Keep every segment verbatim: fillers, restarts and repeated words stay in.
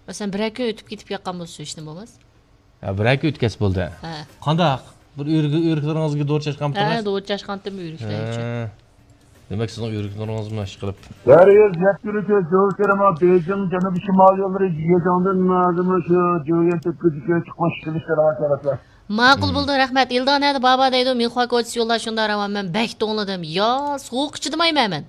مەسىلەن، بىرەر كۈن ئۆتۈپ كېتىپ ياققان بولسا، ھېچنېمە بولماس. ھە، بىرەر كۈن ئۆتكەچ بولدى. ھە. قانداق؟ بىر ئۆرۈك-، ئۆرۈكلىرىڭىزگە دورا چاچقانمىدىڭىز؟ ھە، دورا چاچقانتىم ئۆرۈكلەر ئۈچۈن. ھە. دېمەك، سىزنىڭ ئۆرۈكلىرىڭىزمۇ ئىشقىلىپ. دەريا يەتتە كۆز، جوكېرىما، بېيجىڭ، جەنۇبىي شىمالىي يوللىرى، يېجاڭدىن نازىمۇ شۇ جوگەن تۆپكىسىگە چىقماس ئىشلىرى شەرەۋەت. ماقۇل بولدى، رەھمەت. ئىلدا نەدە بابا دەيدۇ، مىنخۇا كوچىسى يوللار شۇنداق راۋان، مەن بەك توڭلىدىم. يا سوغۇققا چىدىمايمەن مەن.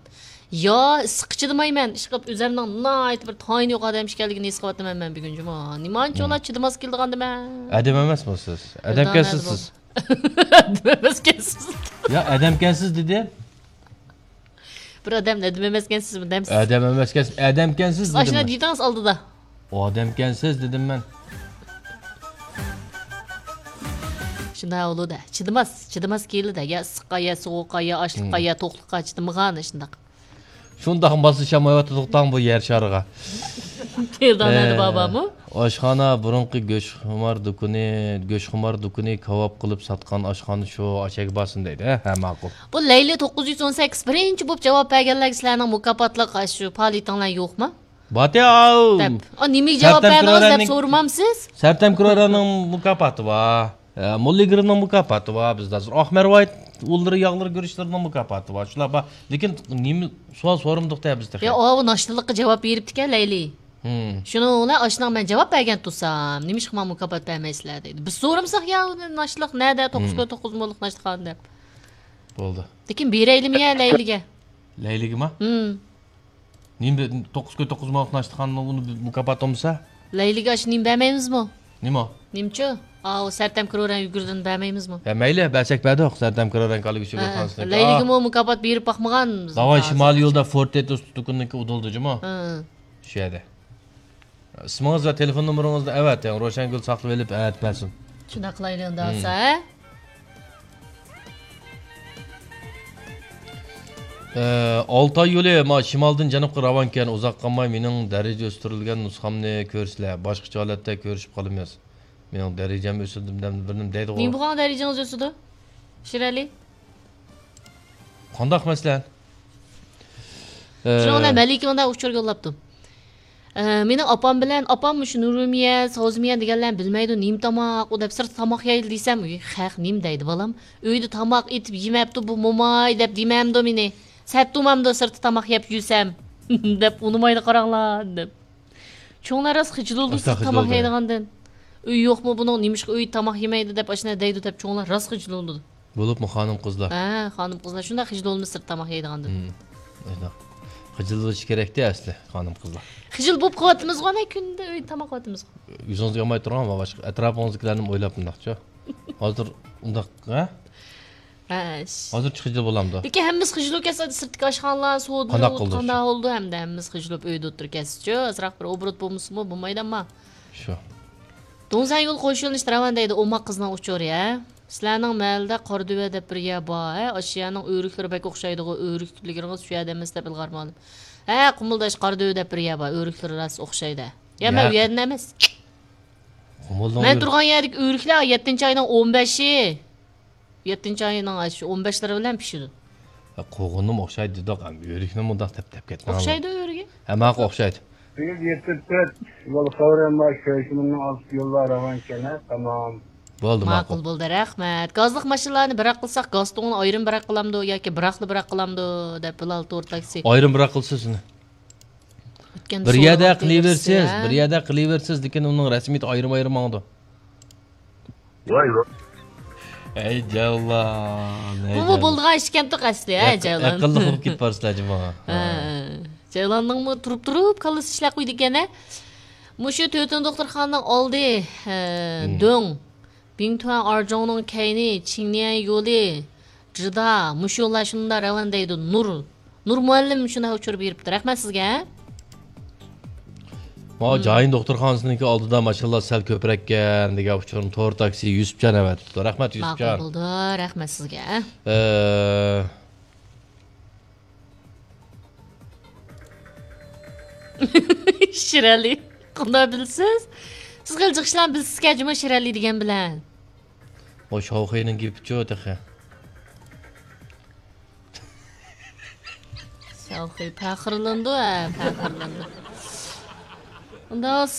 يا ئىسسىققا چىدىمايمەن. ئىشقىلىپ ئۆزەمنىڭ ناھايىتى بىر تايىنى يوق ئادەم ئىكەنلىكىنى ھېس قىلىۋاتىمەن مەن بۈگۈن جۇمۇ. نېمانچىلا چىدىماس كېلىدىغاندىمەن. ئادەم ئەمەسمۇ سىز؟ ئادەمكەنسىز سىز. ئادەم ئەمەسكەنسىز. يا، ئادەمكەنسىز دېدى. بىر ئادەم ئادەم ئەمەسكەنسىزمۇ دەمسىز؟ ئادەم ئەمەسكەنسىز، ئادەمكەنسىز دېدىم ئاشۇنداق مەن. دېدىڭىز ئالدىدا. ئادەمكەنسىز دېدىم مەن. شۇنداق بولىدۇ. چىدىماس، چىدىماس كېلىدۇ. يا ئىسسىققا، يا سوغۇققا، يا ئاشلىققا، يا توقلۇققا چىدىمىغان شۇنداق. شۇنداق ماسلىشالمايۋاتىدۇق تاڭ بۇ يەر شارىغا. ئىلدانەدە بابامۇ؟ ئاشخانا بۇرۇنقى گۆشخۇمار دۇكىنى، گۆشخۇمار دۇكىنى كاۋاپ قىلىپ ساتقان ئاشخانا شۇ ئاچەگە بارسۇن دەيدۇ. ھە، ھە، ماقۇل. بۇ لەيلى توققۇز يۈز ئون سەككىز بىرىنچى بولۇپ جاۋاب بەرگەنلەرگە سىلەرنىڭ مۇكاپاتلىق شۇ پائالىيىتىڭلار يوقمۇ؟ باتياۋ! دەپ. ئا، نېمىگە جاۋاب بەردىڭىز دەپ سورىمامسىز؟ سەرتەم كرورەنىڭ مۇكاپاتى بار. ئە، موللا ئىگىرنىڭ مۇكاپاتى بار بىزدە ھازىر. ئاق مەرۋايىت ئۇنلىرى، ياغلىرى، گۈرۈچلىرىنىڭ مۇكاپاتى بار. شۇلار بار. لېكىن نېمە سوئال سورىمىدۇق دە بىز تېخى. يا، ئاۋۇ ناشتىلىققا جاۋاب بېرىپتىكەن لەيلى. ھىم. شۇنىڭ بىلەن ئاشۇنىڭ مەن جاۋاب بەرگەن تۇرسام، نېمىشقا ماڭا مۇكاپات بەرمەيسىلەر دەيدۇ. بىز سورىمىساق يا، ناشتىلىق نەدە؟ توققۇز كۆل توققۇز موللۇق ناشتىخانا دەپ. بولدى. لېكىن بېرەيلىمۇ يا لەيلىگە؟ لەيلىگىمۇ؟ ھىم. نېمە، توققۇز كۆل توققۇز موللۇق ناشتىخانىنىڭ ئۇنى مۇكاپاتى بولمىسا؟ لەيلىگە ئاشۇ نېمە بەرمەيمىزمۇ؟ نېمە؟ نېمىچۇ؟ ئاۋۇ سەرتەم كرورەن يۈگۈردىن بەرمەيمىزمۇ؟ ھە، مەيلى، بەرسەك بەردۇق. سەرتەم كرورەن كالىگۈچى ھە، خانسىنىڭكى. لەيلىگىمۇ مۇكاپات بېرىپ باقمىغان. داۋاي شىمالىي يولدا فورتېتوس دۇكىنىنىڭكى ئۇدۇلدى جۇمۇ. ھە. شۇ يەردە. ئىسمىڭىز ۋە تېلېفون نومۇرىڭىزنى ئەۋەتىڭ، روشەنگۈل ساقلىۋېلىپ ئەۋەتىپ بەرسۇن. شۇنداق قىلايلى ئۇنداق بولسا، ھە؟ ئە، ئالتاي يولى، ما، شىمالدىن جەنۇبقا راۋانكەن، ئۇزاق قالماي مېنىڭ دەرىجە ئۆستۈرۈلگەن نۇسخامنى كۆرىسىلەر، باشقىچە ھالەتتە كۆرۈشۈپ قالىمىز. مېنىڭ دەرىجەم ئۆسۈلدى، بىر نېمە دەيدىغۇ. نېمە بولغان دەرىجىڭىز ئۆسىدۇ؟ شىرئەلى؟ قانداق مەسىلەن؟ ئە، شۇنىڭ بىلەن مەلىكە مۇنداق ئۇچۇر يوللاپتۇ. ئە، مېنىڭ ئاپام بىلەن ئاپام مۇشۇ نۇرۇمىيە، ساۋزىمىيە دېگەنلەرنى بىلمەيدۇ، نېمە تاماق ئۇ دەپ سىرتتا تاماق يەيلى دېسەم، ئۇي، خەق نېمە دەيدۇ بالام؟ ئۆيدە تاماق ئېتىپ يېمەپتۇ بۇ موماي دەپ دېمەمدۇ مېنى؟ سەت تۇرمامدۇ سىرتتا تاماق يەپ يۈرسەم؟ دەپ ئۇنىمايدۇ قاراڭلار دەپ. چوڭلار راست خىجىل بولىدۇ سىرتتا تاماق يەيدىغاندىن. ئۆي يوقمۇ بۇنىڭ، نېمىشقا ئۆيدە تاماق يېمەيدۇ دەپ ئاشۇنداق دەيدۇ دەپ چوڭلار راست خىجىل بولىدۇ. بولۇپمۇ خانىم قىزلار؟ ھە، خانىم قىزلار شۇنداق خىجىل بولىمىز سىرت تاماق يەيدىغاندىن. ھىم. ئاشۇنداق. خىجىل بولۇشى كېرەكتى ئەسلى خانىم قىزلار. خىجىل بولۇپ قېلىۋاتىمىزغۇ ئەنە كۈندە ئۆيدە تاماق قىلىۋاتىمىزغۇ. يۈزىڭىزگە ئالماي تۇرۇڭ، باشقا ئەتراپىڭىزدىكىلەرنىمۇ ئويلاپ مۇنداقچۇ. ھازىر ئۇنداق، ھە؟ ھە. ھازىرچە خىجىل بولامدۇ؟ لېكىن ھەممىسى خىجىل بولۇپ كەتسە، سىرتتىكى ئاشخانىلار، سودىلار قانداق بولىدۇ ھەمدە ھەممىسى خىجىل بولۇپ ئۆيدە ئولتۇرۇپ كەتسىچۇ. ئازراق بىر ئوبوروت بولمىسىمۇ بولمايدۇ ئەمما. شۇ. دۇڭزەن يول قوشۇۋېلىنىشتا راۋان دەيدۇ، ئوماق قىزنىڭ ئۇچۇرى، ھە؟ سىلەرنىڭ مەھەللىدە قارادۆۋە دەپ بىر يەر بار، ھە؟ ئاشۇ يەرنىڭ ئۆرۈكلىرى بەك ئوخشايدىغۇ، ئۆرۈكلىرىڭىز شۇ يەردە ئەمەس دەپ ئىلغار مالىم. ھە، قۇمۇلداش قارادۆۋە دەپ بىر يەر بار، ئۆرۈكلىرى راست ئوخشايدۇ. يا، مەن ئۇ يەردىن ئەمەس. قۇمۇلنىڭ مەن تۇرغان يەردىكى ئۆرۈكلەر يەتتىنچى ئاينىڭ ئون بەشى. يەتتىنچى ئاينىڭ ئاشۇ ئون بەشلىرى بىلەن پىشىدۇ. ھە، قوغۇننىمۇ ئوخشايدۇ دېدۇق، ھەم ئۆرۈكنى مۇنداق تەپ-تەپ كەتمەڭ. ئوخشايدۇ ئۆرۈكى. ھە، ماقۇل ئوخشايدۇ. سەككىز يەتتە تۆت يول خەۋىرىم بار، كۆرۈشۈمنىڭ ئالدىدا يوللار راۋان ئىكەن، ھە، تامام. بولدى، ماقۇل. ماقۇل بولدى، رەھمەت. گازلىق ماشىنىلارنى بىراق قىلساق، گاز تۇڭىنى ئايرىم بىراق قىلامدۇ ياكى بىراقلا بىراق قىلامدۇ دەپ بىلال تور تاكسى. ئايرىم بىراق قىلسا سىزنى. بىر يەردە قىلىۋېرىسىز، بىر يەردە قىلىۋېرىسىز، لېكىن ئۇنىڭ رەسمىيىتى ئايرىم-ئايرىم ماڭىدۇ. ۋاي، ۋاي. ئەي جاۋلان، ئەي بۇمۇ جاۋلان. بولىدىغان ئىش ئىكەنتۇق ئەسلى، ھە، ئەق-، جاۋلان. ئەقىللىق بولۇپ كېتىپ بارسىلەر جۇمۇ. ھە، ھە. جاۋلاننىڭمۇ تۇرۇپ-تۇرۇپ كاللىسى ئىشلەپ قويىدىكەن، ھە. مۇشۇ تۆتىنچى دوختۇرخانىنىڭ ئالدى، ھە، ھىم. دۆڭ. بىڭتۈەن ئارجۇڭنىڭ كەينى، چىڭنيەن يولى، جىدا، مۇشۇ يوللار شۇنداق راۋان دەيدۇ. نۇر، نۇر مۇئەللىم شۇنداق ئۇچۇر بېرىپتۇ. رەھمەت سىزگە. ماۋۇ جايىن دوختۇرخانىسىنىڭكى ئالدىدا ماشىنىلار سەل كۆپرەككەن دېگەن ئۇچۇرنى تور تاكسى يۈسۈپجان ئەۋەتىپتۇ. رەھمەت يۈسۈپجان. ماقۇل بولدى. رەھمەت سىزگە. ئە، شىرئەلى، قانداق بىلىسىز؟ سىز خېلى جىق ئىشلارنى بىلىسىزكەن جۇمۇ شىرئەلى دېگەن بىلەن. ئۇ شاۋخېينىڭ گېپىچۇ تېخى. شاۋخېي پەخىرلىنىدۇ، ھە، پەخىرلىنىدۇ. ئۇنداق